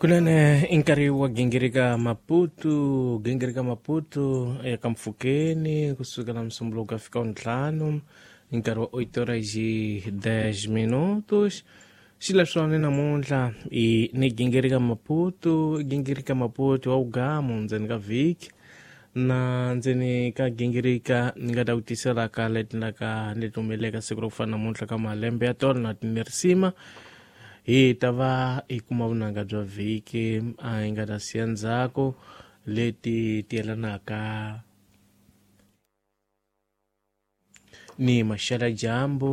Kunene i nkarhi wa gingirika Maputo, gingirika Maputo eka mpfhukeni kusukela Musumbhunuko fika ntlhanu i nkarhi wa 8 horas e 10 minutos. Xileswona namuntlha i ni gingirika Maputo, gingirika Maputo wa ugamu ndzeni ka vhiki na ndzeni ka gingirika ni nga ta ku tisela ka leti la ka leti humeleleka siku ro fana namuntlha ka malembe ya tona na tinerisima hi ta va hi kuma vunanga bya vhiki a hi nga ta siya ndzhaku leti ti yelanaka ni maxela dyambu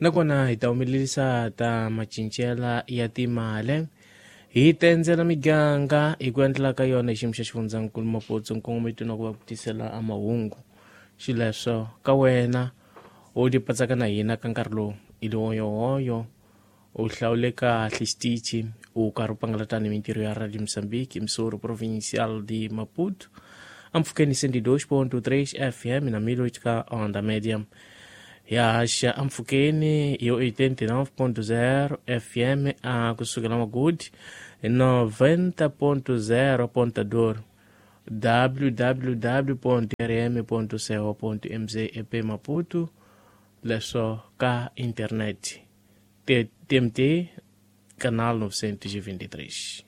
nakona hi ta humelerisa ta macincela ya timali hi ta endzela miganga hi ku endlela ka yona hi xiyimo xa xifundzankulu Maputo nkongometo na ku va ku tisela a mahungu xileswo ka wena u ti patsaka na hina ka nkarhi lowu i liwoyowoyo u hlawule kahle xitichi u karhi u pangalata ni mintirho ya Radio Mozambique emissora provincial de Maputo ampfhukeni 102.3 FM na 1008 ka onda média ya haxa ampfhukeni yo 89.0 FM a kusukela Magudi 90.0 Ponta Dor www.rm.co.mz ep Maputo leswo ka internet TMT canal 923.